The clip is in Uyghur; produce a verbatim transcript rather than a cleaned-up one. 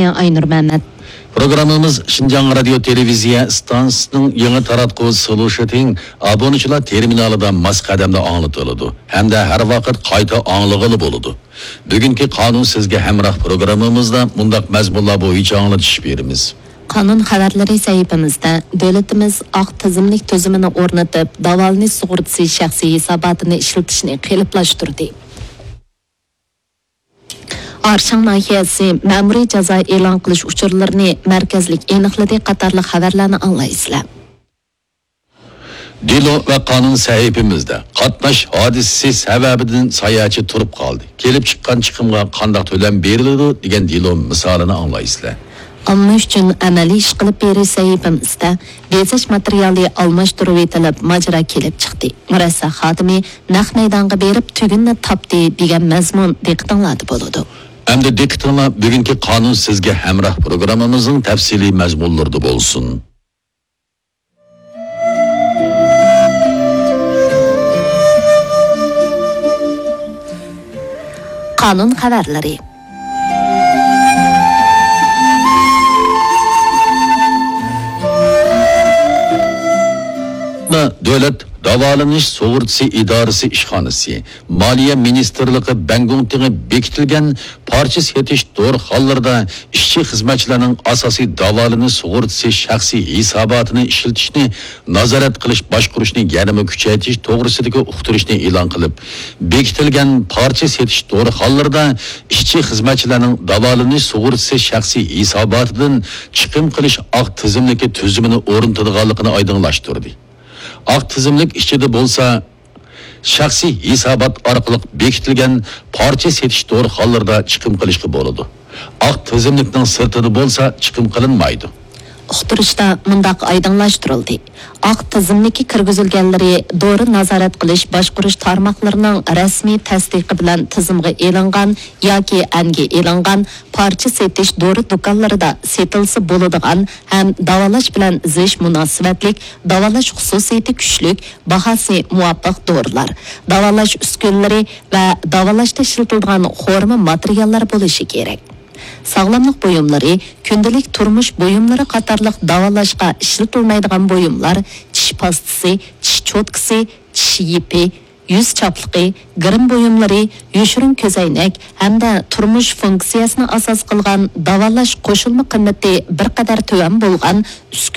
ئاينۇر مەمەت. پروگراممىمىز شىنجاڭ رادىيو تېلېۋىزىيە ئىستانسىسىنىڭ يېڭى تاراتقۇ سلۇشىتىڭ ئابۇنىچىلار تېرمىنالىدا ماس قەدەمدە ئاڭلىتىلىدۇ ھەمدە ھەر ۋاقىت قايتا ئاڭلىغىلى بولىدۇ. بۈگۈنكى قانۇن سىزگە ھەمراھ پروگراممىمىزدا مۇنداق مەزمۇنلار بويىچە ئاڭلىتىش بېرىمىز. قانۇن خەۋەرلىرى سەھىپىمىزدە دۆلىتىمىز ئاق تىزىملىك تۈزۈمىنى ئورنىتىپ، داۋالىنىش سۇغۇرتىسى شەخسىي ھېساباتىنى ئىشلىتىشنى قېلىپلاشتۇردى. ئارشاڭ ناھىيەسى مەمۇرىي جازا ئېلان قىلىش ئۇچۇرلىرىنى مەركەزلىك ئېنىقلىدى قاتارلىق خەۋەرلەرنى ئاڭلايسىلەر. دېلو ۋە قانۇن سەھىپىمىزدە قاتناش ھادىسىسى سەۋەبىدىن ساياھەتچى تۇرۇپ قالدى. كېلىپ چىققان چىقىمغا قانداق تۆلەم بېرىلىدۇ دېگەن دېلو مىسالىنى ئاڭلايسىلەر. ئامما ئۈچۈن ئەمەلىي ئىش قىلىپ بېرىش سەھىپىمىزدە بېزەش ماتېرىيالى ئالماشتۇرۇۋېتىلىپ ماجىرا كېلىپ چىقتى. مۇرەسسە خادىمى نەق مەيدانغا بېرىپ تۈگۈننى تاپتى دېگەن مەزمۇن دىققىتىڭلاردا بولىدۇ. ئەمدى دىققىتىڭلار بۈگۈنكى قانۇن سىزگە ھەمراھ پروگراممىمىزنىڭ تەپسىلىي مەزمۇنلىرىدا بولسۇن. قانۇن خەۋەرلىرى. دۆلەت داۋالىنىش سۇغۇرتىسى ئىدارىسى ئىشخانىسى، مالىيە مىنىستىرلىقى بەڭگۇڭتىڭى بېكىتىلگەن پارچە سېتىش دورىخانىلىرىدا ئىشچى-خىزمەتچىلەرنىڭ ئاساسىي داۋالىنىش سۇغۇرتىسى شەخسىي ھېساباتىنى ئىشلىتىشنى نازارەت قىلىش باشقۇرۇشنى يەنىمۇ كۈچەيتىش توغرىسىدىكى ئۇقتۇرۇشنى ئېلان قىلىپ، بېكىتىلگەن پارچە سېتىش دورىخانىلىرىدا ئىشچى-خىزمەتچىلەرنىڭ داۋالىنىش سۇغۇرتىسى شەخسىي ھېساباتىدىن چىقىم قىلىش ئاق تىزىملىكى تۈزۈمىنى ئورنىتىدىغانلىقىنى ئايدىڭلاشتۇردى. ئاق تىزىملىك ئىچىدە بولسا، شەخسىي ھېسابات ئارقىلىق بېكىتىلگەن پارچە سېتىش دورىخانىلىرىدا چىقىم قىلىشقا بولىدۇ. ئاق تىزىملىكنىڭ سىرتىدا بولسا چىقىم قىلىنمايدۇ. ئۇقتۇرۇشتا مۇنداق ئايدىڭلاشتۇرۇلدى: ئاق تىزىملىككە كىرگۈزۈلگەنلىرى دورا نازارەت قىلىش باشقۇرۇش تارماقلىرىنىڭ رەسمىي تەستىقى بىلەن تىزىمغا ئېلىنغان ياكى ئەنگە ئېلىنغان پارچە سېتىش دورا دۇكانلىرىدا سېتىلسا بولىدىغان ھەم داۋالاش بىلەن زىچ مۇناسىۋەتلىك، داۋالاش خۇسۇسىيىتى كۈچلۈك، باھاسى مۇۋاپىق دورىلار، داۋالاش ئۈسكۈنىلىرى ۋە داۋالاشتا ئىشلىتىلىدىغان خورما ماتېرىياللار بولۇشى كېرەك. ساغلاملىق بۇيۇملىرى، كۈندىلىك تۇرمۇش بۇيۇملىرى قاتارلىق داۋالاشقا ئىشلىتىلمەيدىغان بۇيۇملار، چىش پاستىسى، چىش چوتكىسى، چىش يىپى، يۈز چاپلىقى، گىرىم بۇيۇملىرى، يوشۇرۇن كۆزەينەك ھەمدە تۇرمۇش فۇنكسىيەسىنى ئاساس قىلغان داۋالاش قوشۇلما قىممىتى بىر قەدەر تۆۋەن بولغان ئۈسكۈنە